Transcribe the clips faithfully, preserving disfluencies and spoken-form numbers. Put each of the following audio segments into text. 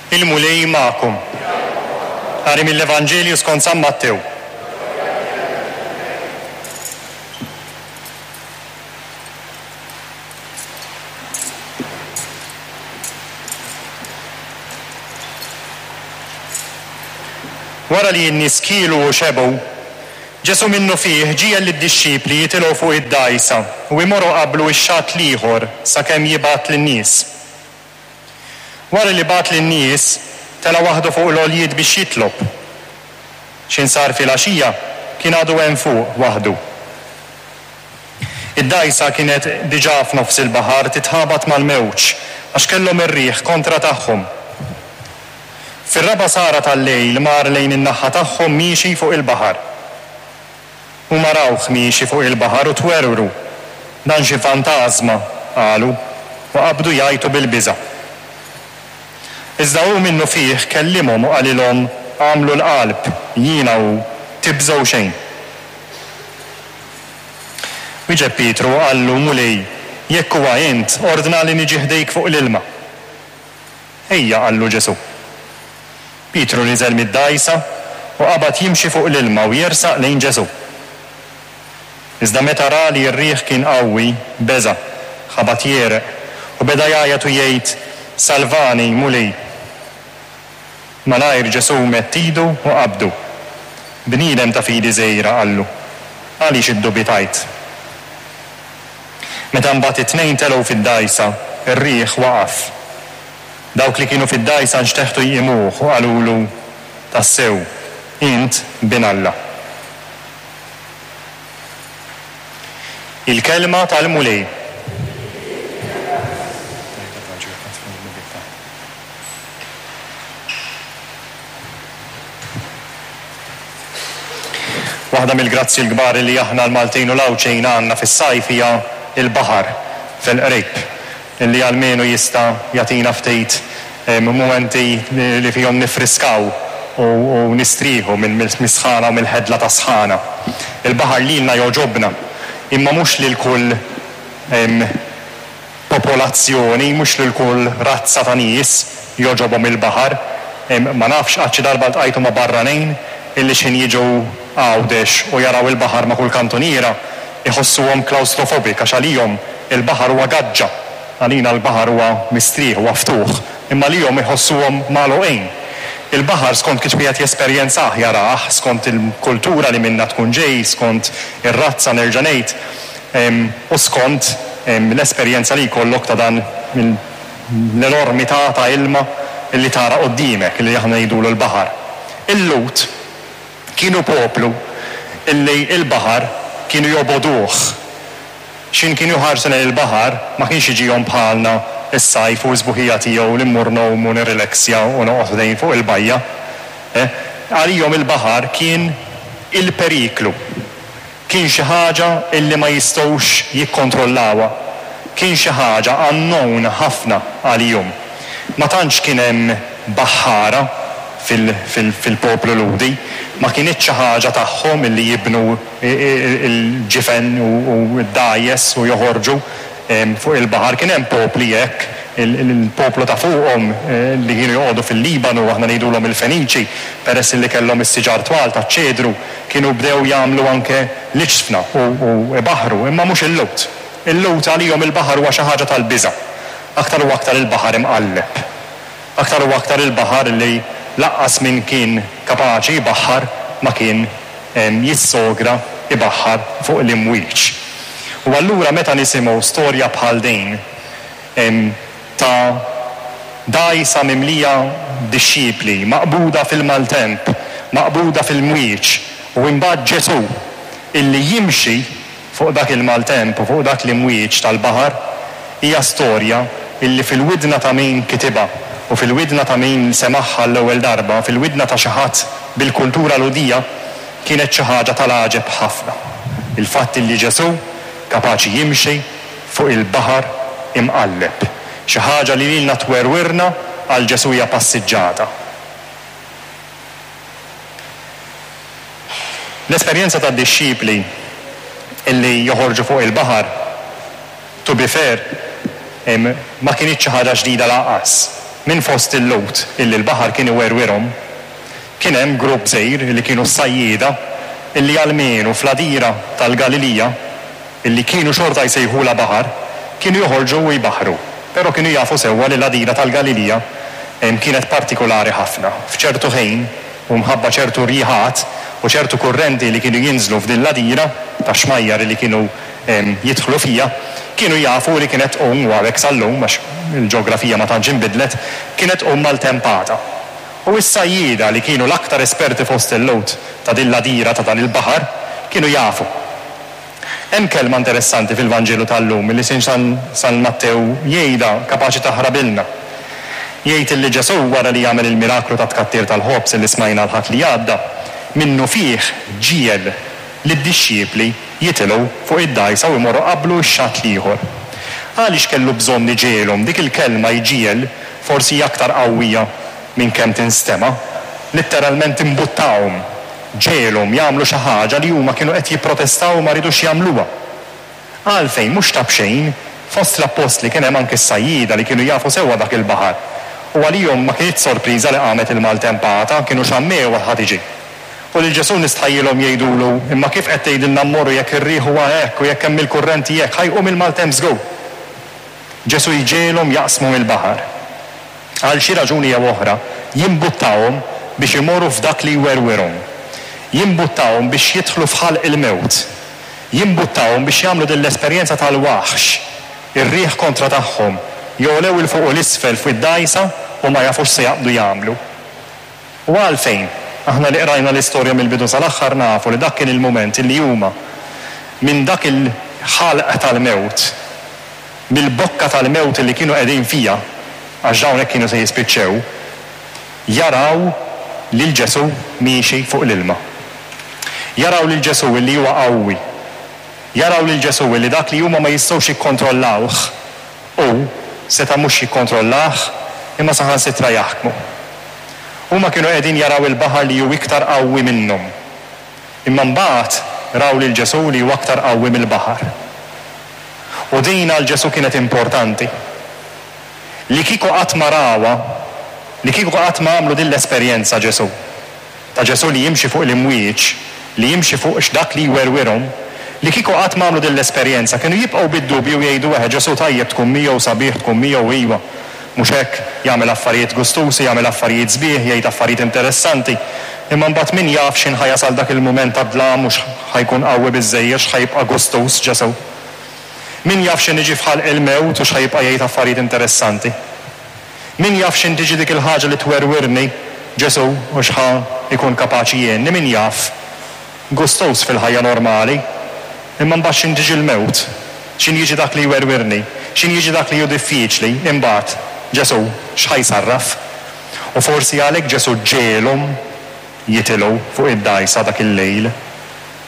Il-Mulej magħkom. Qari mill-Evanġelju skont San Mattew. Wara li n-nies kielu u xebgħu, Ġesù minnufih ġiegħel lid-dixxipli jitilgħu fuq id-dgħajsa u jmorru qablu x-xatt l-ieħor sakemm jibgħat lin-nies. Wara li bagħat lin-nies, tela' waħdu fuq l-għoljiet biex jitlob. X'ħin sar filgħaxija, kien għadu hemm fuq waħdu. Id-dgħajsa kienet diġà f'nofs il-baħar titħabat mal-mewġ għax kellhom ir-riħ kontra tagħhom. Fir-raba' sara tal-lejl mar lejn in-naħa tagħhom miexi fuq il-baħar. Huma rawh miexi fuq il-baħar u twerwru. Dan xi fantażma, qalu, u qabdu jgħajtu bil-biża'. Iżda hu minnufih kellimhom u qalilhom, Agħmlu l-qalb, jiena hu, tibżgħu xejn. Wieġeb Pietru u qallu, Mulej, jekk huwa int, ordnali niġi ħdejk fuq l-ilma. Ejja, qallu Ġesù. Pietru niżel mid-dgħajsa u qabad jimxi fuq l-ilma u jersaq lejn Ġesù. Iżda meta ra li r-riħ kien qawwi, beża', ħabat jegħreq, u beda jgħajjat u jgħid, Salvani, Mulej! Malajr Ġesù medd idu u qabdu. Bniedem ta' fidi żgħira, qallu, għaliex iddubitajt? Meta mbagħad it-tnejn telgħu fid-dgħajsa, ir-riħ waqaf. Dawk li kienu fid-dgħajsa nxteħtu jqimuh u qalulu, Tassew, int Bin Alla. Il-Kelma tal-Mulej. Waħda mill-grazzji l-kbar li aħna l-Maltin u l-Għawdxin għandna fis-sajf hija l-baħar fil-qrib, li almenu jista' jagħtina ftit mumenti li fihom niffriskaw u nistrieħu mill-sħana u mill-ħedla tas-sħana. Il-baħar lilna jogħġobna, imma mhux lil kull popolazzjoni, mhux lil kull razza ta' nies jogħġobhom il-baħar. Ma nafx qatt xi darba ltqajtu ma' barranin illi x'ħin jiġu Għawdex u jaraw il-baħar ma' kull kantuniera, iħossuhom claustrophobic għax għalihom il-baħar huwa gaġġa. Għalina l-baħar huwa mistrieħ, huwa ftuħ, imma għalihom iħossuhom magħluqin. Il-baħar skont kif wieħed jesperjenzah, jarah, skont il-kultura li minnha tkun ġej, skont ir-razza nerġa' ngħid, u skont l-esperjenza li jkollok ta' dan l-enormità ta' ilma li tara quddiemek, li aħna ngħidulu l-baħar. Il-Lhud kienu poplu illi l-baħar kienu jobogħduh. X'ħin kienu jħarsu lejn il-baħar ma kienx jiġihom bħalna s-sajf u s-sbuħija tiegħu li mmur ngħum u nirrileksja u noqgħod ħdejn fuq il-bajja. Għalihom il-baħar kien il-periklu. Kien xi ħaġa illi ma jistgħux jikkontrollawha. Kien xi ħaġa unknown ħafna għalihom. Ma tantx kien hemm baħħara fil-poplu Lhudi. Ma kinitx xi ħaġa tagħhom illi jibnu l-ġifen u d-dgħajjes u joħorġu fuq il-baħar. Kien hemm popli hekk, il-poplu ta' fuqhom li kienu joqogħdu fil-Libanu, aħna ngħidulhom il-Feniċi, peress li kellhom is-siġar twal taċ-ċedru, kienu bdew jagħmlu anke l-iġsfna u ibaħħru, imma mhux il-Lhud. Il-Lhud għalihom il-baħar huwa xi ħaġa tal-biża', aktar u aktar il-baħar imqalleb. Aktar u aktar il-baħar li lanqas min kien kapaċi jbaħħar ma kien jissogra ibaħħar fuq l-imwieġ. U allura meta nisimgħu storja bħal din ta' dgħajsa mimlija dixxipli, maqbuda fil-maltemp, maqbuda fil-mwieġ, u imbagħad Ġesù illi jimxi fuq dak il-maltemp u fuq dak l-imwieġ tal-baħar, hija storja illi fil-widna ta' min kitibha u fil-widna ta' min semagħha l-ewwel darba, fil-widna ta' xi ħadd bil-kultura Lhudija, kienet xi ħaġa tal-għaġeb ħafna. Il-fatt illi Ġesù kapaċi jimxi fuq il-baħar imqalleb. Xi ħaġa li lilna twerwirna, għal Ġesù hija passiġġata. L-esperjenza tad-dixxipli illi joħorġu fuq il-baħar, to be fair, ma kinitx xi ħaġa ġdida lanqas. Minn fost il-Lhud illi l-baħar kien iwerwirhom, kien hemm grupp żgħir illi kienu s-sajjieda illi almenu fl-għadira tal-Galilija, illi kienu xorta jsejħulha baħar, kienu joħorġu u jbaħħru. Però kienu jafu sewwa li l-għadira tal-Galilija kienet partikolari ħafna. F'ċertu ħin u mħabba ċertu rjiħat u ċertu kurrenti li kienu jinżlu f'din l-għadira ta' xmajjar li kienu jidħlu fija, kienu jafu li kienet tqum, u għalhekk sal-lum, għax il-ġeografija ma tantx inbidlet, kienet tqum maltempata. U s-sajjieda li kienu l-aktar esperti fost il-Lhud ta' din l-għadira ta' dan il-baħar, kienu jafu. Hemm kelma interessanti fil-Vanġelu tal-lum li San, San Mattew jgħidha kapaċi taħrabilna. Jgħid li Ġesù wara li jagħmel il-miraklu ta' tkattir tal-ħobż li smajna l-Ħadd li għadda, minnufih ġiegħel lid-dixxipli jitilgħu fuq id-dgħajsa u jmorru qablu x-xatt l-ieħor. Għaliex kellu bżonn iġegħelhom? Dik il-kelma jġiegħel forsi hija aktar qawwija minn kemm tinstema'. Litteralment imbuttahom, ġegħelhom jagħmlu xi ħaġa li huma kienu qed jipprotestaw u ma ridux jagħmluha. Għalfejn? Mhux ta' b'xejn, fost l-appostli kien hemm anke s-sajjieda li kienu jafu sewwa dak il-baħar. U għalihom ma kinitx sorpriża li qamet il-maltempata, kienu xammew ħa tiġi. U lil Ġesù nistħajjilhom jgħidulu, imma kif qed tgħidilna mmorru jekk ir-riħ huwa hekk u jekk hemm il-kurrenti hekk, ħa jqum il-maltemp żgur. Ġesù jġegħelhom jaqsmu mill-baħar. Għal xi raġuni jew oħra, jimbuttahom biex imorru f'dak li jwerwirhom. Jimbuttahom biex jidħlu f'ħalq il-mewt. Jimbuttahom biex jagħmlu din l-esperjenza tal-waħx, ir-riħ kontra tagħhom, jogħlew 'il fuq u 'l isfel fuq id-dgħajsa u ma jafux se jaqbdu jagħmlu. U għalfejn? Aħna li qrajna l-istorja mill-bidu sal-aħħar nafu li dak kien il-mument illi huma minn dak il-ħalq tal-mewt, mill-bokka tal-mewt illi kienu qegħdin fija, għax dawn hekk kienu se jispiċċew, jaraw lil Ġesù miexi fuq l-ilma. Jaraw lil Ġesù illi huwa qawwi. Jaraw lil Ġesù illi dak li huma ma jistgħux jikkontrollawh, hu seta' mhux jikkontrollah imma saħansitra jaħkmu. Huma kienu qegħdin jaraw il-baħar li hu iktar qawwi minnhom. Imma mbagħad raw lil Ġesù li hu aktar qawwi mill-baħar. U din għal Ġesù kienet importanti. Li kieku qatt ma rawha, li kieku qatt ma għamlu din l-esperjenza Ġesù, ta' Ġesù li jimxi fuq l-imwieġ, li jimxi fuq dak li jwerwirhom, li kieku qatt ma għamlu din l-esperjenza, kienu jibqgħu bid-dubju jgħidu eħe Ġesù tajjeb tkun miegħu, sabiħ tkun miegħu, iva. Mhux hekk, jagħmel affarijiet gustusi, jagħmel affarijiet sbieħ, jgħid affarijiet interessanti. Imma mbagħad min jaf x'in ħa jasal dak il-mument ta' dlam mhux ħa jkun qawwi biżżejjed, x'ħa jibqa' gustuż Ġesù. Min jaf x'in iġi f'ħalq il-mewt u x'ħa jibqa' jgħid affarijiet interessanti. Min jaf x'in tiġi dik il-ħaġa li twerwirni Ġesù u x'ħa jkun kapaċi jgħinni, min jaf. Gustuż fil-ħajja normali, imma mbagħad x'in tiġi l-mewt, x'in jiġi dak li jwerwirni, x'in jiġi dak li hu diffiċli, imbagħad Ġesù x'ħa jsarraf. U forsi għalhekk Ġesù ġegħelhom jitilgħu fuq id-dgħajsa dak il-lejl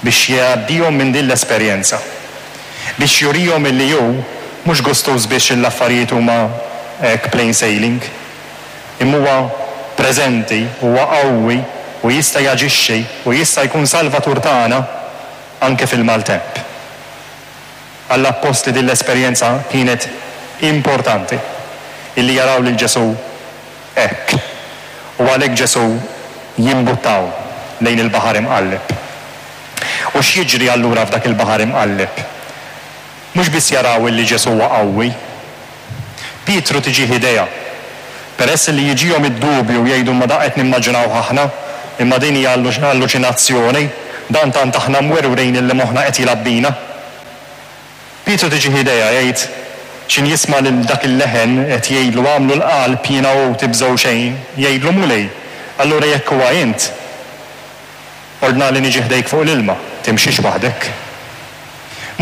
biex jgħaddihom minn din l-esperjenza, biex jurihom illi hu mhux gustuż biex l-affarijiet huma hekk plain sailing, imma huwa preżenti, huwa qawwi u jista' jaġixxi u jista' jkun salvatur tagħna anke fil-maltemp. Għall-appostli din l-esperjenza kienet importanti, illi jaraw lil Ġesù hekk. U għalhekk Ġesù jimbuttaw lejn il-baħar imqalleb. U x'jiġri allura f'dak il-baħar imqalleb? Mhux biss jaraw illi Ġesù huwa qawwi. Pietru tiġih idea. Peress li jiġihom id-dubju jgħidu ma dak qed nimmaġinaw aħna, imma din hija alluċinazzjoni, dan tant aħna mwerwrin illi moħħna qed jilgħab bina. Pietru tiġih idea jgħid x'in jisma' lil dak il-leħen qed jgħidlu għamlu l-qalb jiena hu tibżgħu xejn, jgħidlu Mulej, allura jekk huwa int, ordna li niġi ħdejk fuq l-ilma, timxix waħdek.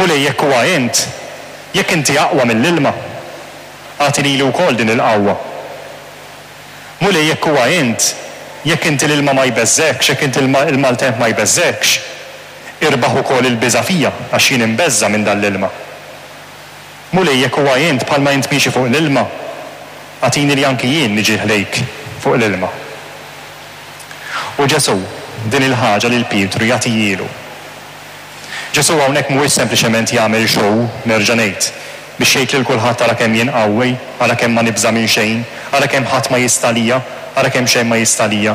Mulej, jekk huwa int, jekk inti aqwa mill-ilma, agħti lili wkoll din il-qawwa. Mulej, jekk huwa int, jekk inti l-ilma ma jbeżżekx, jekk inti il-maltemp ma jbeżżekx, irbaħ ukoll il-biża' fija għax jien imbeżża' minn dan l-ilma. Mulej, jekk huwa int bħalma int miexi fuq l-ilma, agħtini li anki jien niġi ħdejk fuq l-ilma. U Ġesù din il-ħaġa lil Pietru jagħtihielu. Ġesù hawnhekk mhuwiex sempliċement jagħmel show, nerġa' ngħid, biex jgħid lil kulħadd ara kemm jien qawwi, ara kemm ma nibża' minn xejn, Ara kemm ħadd ma jista' għalija, ara kemm xejn ma jista' għalija.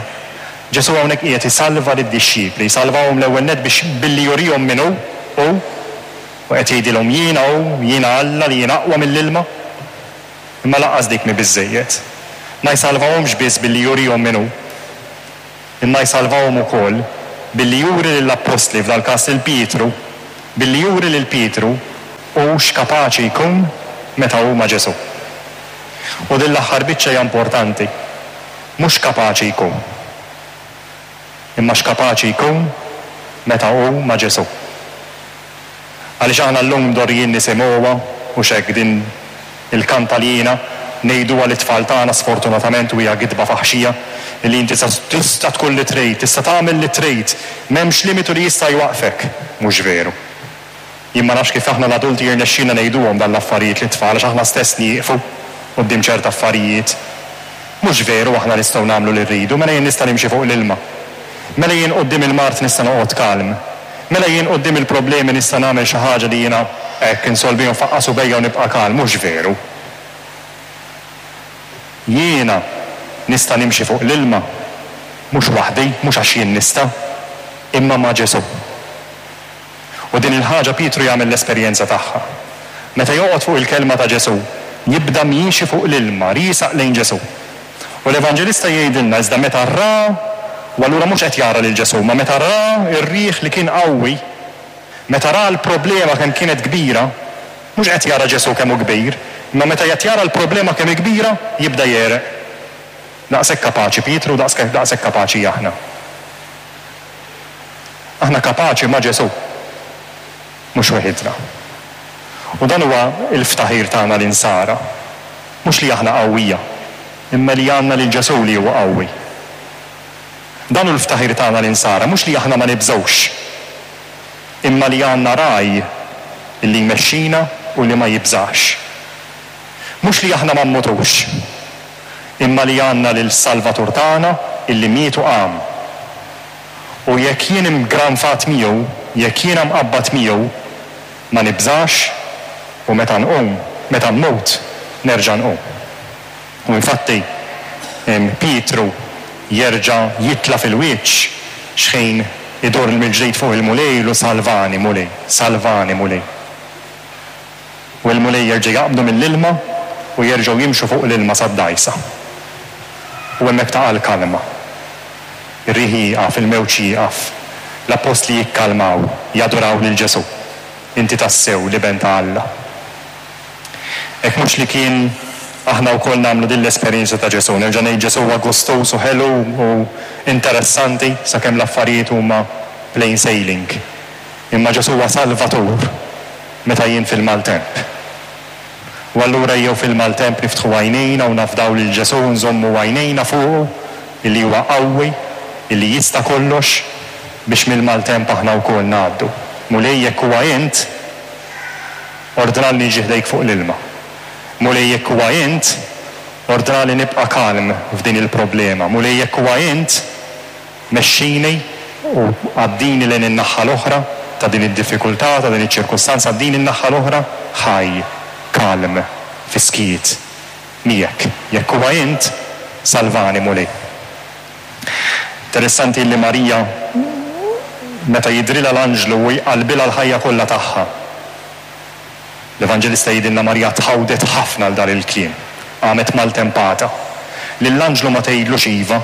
Ġesù hawnhekk qiegħed isalva lid-dixxipli, jsalvahom l-ewwel nett biex billi jurihom min hu, hu, u qed jgħidilhom jiena hu, jiena Alla li jiena aqwa mill-ilma. Imma lanqas dik mhi biżżejjed. Ma jsalvahomx biss billi jurihom min hu, imma jsalvahom ukoll billi juri lill-appostli, f'dal-każ lil Pietru, billi juri lil Pietru hu x'kapaċi jkun meta hu ma' Ġesù. U din l-aħħar biċċa hija importanti. Mhux kapaċi jkun, imma x'kapaċi jkun meta hu ma' Ġesù. Għaliex aħna llum mdorrijin nisimgħuha u x'hekk din il-kantalina ngħiduha lit-tfal tagħna, sfortunatament, u hija gidba faħxija, li inti tista' tkun li trid, tista' tagħmel li trid, m'hemmx limitu li jista' jwaqfek. Mhux veru. Jien ma nafx kif aħna l-adulti jirnexxina ngħiduhom dan l-affarijiet lit-tfal, għax aħna stess nieqfu quddiem ċerta affarijiet. Mhux veru aħna nistgħu nagħmlu li rridu, mela jien nista' nimxi fuq l-ilma. Mela jien quddiem il-mard nista' noqgħod kalm. Mela jien quddiem il-problemi nista' nagħmel xi ħaġa li jiena hekk insolvihom faqqasu bejja u nibqa' kalm. Mhux veru. Jiena nista' nimxi fuq l-ilma, mhux waħdi, mhux għax jien nista', imma ma' Ġesù. U din il-ħaġa Pietru jagħmel l-esperjenza tagħha. Meta joqgħod fuq il-kelma ta' Ġesù, jibda miexi fuq l-ilma, riesaq lejn Ġesù. U l-Evanġelista jgħidilna iżda meta ra, u allura mhux qed jara lil Ġesù, ma meta ra r-riħ li kien qawwi, meta ra l-problema kemm kienet kbira, mhux qed jara Ġesù kemm hu kbir, imma meta qed jara l-problema kemm hi kbira, jibda jegħreq. Daqshekk kapaċi Pietru, daqshekk, daqshekk kapaċi aħna. Aħna kapaċi ma' Ġesù, mhux weħidna. U dan huwa l-ftaħir tagħna l-insara. Mhux li aħna qawwija, imma li għandna lil Ġesù li huwa qawwi. Dan hu l-ftaħir tagħna l-insara, mhux li aħna ma nibżgħux, imma li għandna ragħaj li jmexxina u li ma jibżax. Mhux li aħna ma mmutux, imma li għandna lil Salvatur tagħna illi miet u qam. U jekk jien imgranfat miegħu, jekk jiena mqabbad miegħu, ma nibżax u meta nqum, meta mmut, nerġa' nqum. U infatti Pietru jerġa' jitla' fil-wiċċ x'ħin idur mill-ġdid fuq il-Mulej u salvani Mulej, salvani Mulej. U l-Mulej jerġa' jaqbdu mill-ilma u jerġgħu jimxu fuq l-ilma sad-dgħajsa. U hemmhekk taqa' l-kalma. Ir-riħ jieqaf, il-mewġ jieqaf. L-appostli jikkalmaw, jaduraw lil Ġesù. Inti tassew l-Iben ta' Alla. Hekk mhux li kien aħna wkoll nagħmlu din l-esperjenza ta' Ġesù. Nerġa' ngħid Ġesù huwa gustuż u ħelu u interessanti sakemm l-affarijiet huma plain sailing. Imma Ġesù huwa Salvatur meta jien fil-maltemp. U allura jew fil-maltemp niftħu għajnejna u nafdaw lil Ġesù, nżommu għajnejna fuqu illi huwa qawwi, illi jista' kollox, biex mill-maltemp aħna wkoll ngħaddu. Mulej, jekk huwa int, ordnali niġi ħdejk fuq l-ilma. Mulej, jekk huwa int, ordnali nibqa' kalm f'din il-problema. Mulej, jekk huwa int, mexxini u għaddini lejn in-naħa l-oħra ta' din id-diffikultà, ta' din iċ-ċirkustanza, għaddini n-naħa l-oħra ħaj, kalm, fiskijiet, miegħek. Jekk huwa int, salvani Mulej. Interessanti li Marija meta jidrilha l-anġlu u jqalbilha l-ħajja kollha tagħha. L-Evanġelista jgħidilna Marija tħawdet ħafna għal dan il-kliem, qamet maltempata. Lill-anġlu ma tgħidlux iva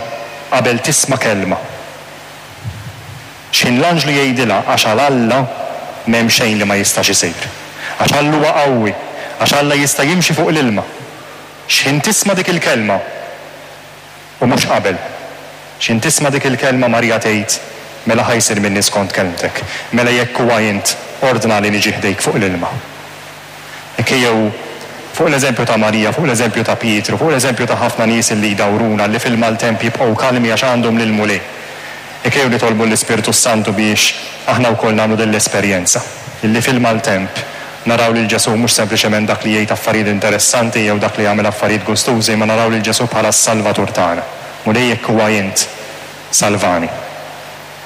qabel tisma' kelma. X'ħin l-anġlu jgħidilha għax għal Alla m'hemm xejn li ma jistax isir. Għax Alla huwa qawwi, għax Alla jista' jimxi fuq l-ilma. X'ħin tisma' dik il-kelma u mhux qabel. X'ħin tisma' dik il-kelma Marija tgħid mela ħa jsir minni skont kelmtek. Mela jekk huwa int, ordna li niġi ħdejk fuq l-ilma. Hekk jew fuq l-eżempju ta' Marija, fuq l-eżempju ta' Pietru, fuq l-eżempju ta' ħafna nies li jdawruna li fil-maltemp jibqgħu kalmi għax għandhom lil Mulej. Hekk jew nitolbu l-Ispirtu Santu biex aħna wkoll nagħmlu din l-esperjenza illi fil-maltemp naraw lil Ġesù mhux sempliċement dak li jgħid affarijiet interessanti jew dak li jagħmel affarijiet gustużi, ma naraw lil Ġesù bħala s-Salvatur tagħna. Mulej, jekk huwa int, salvani.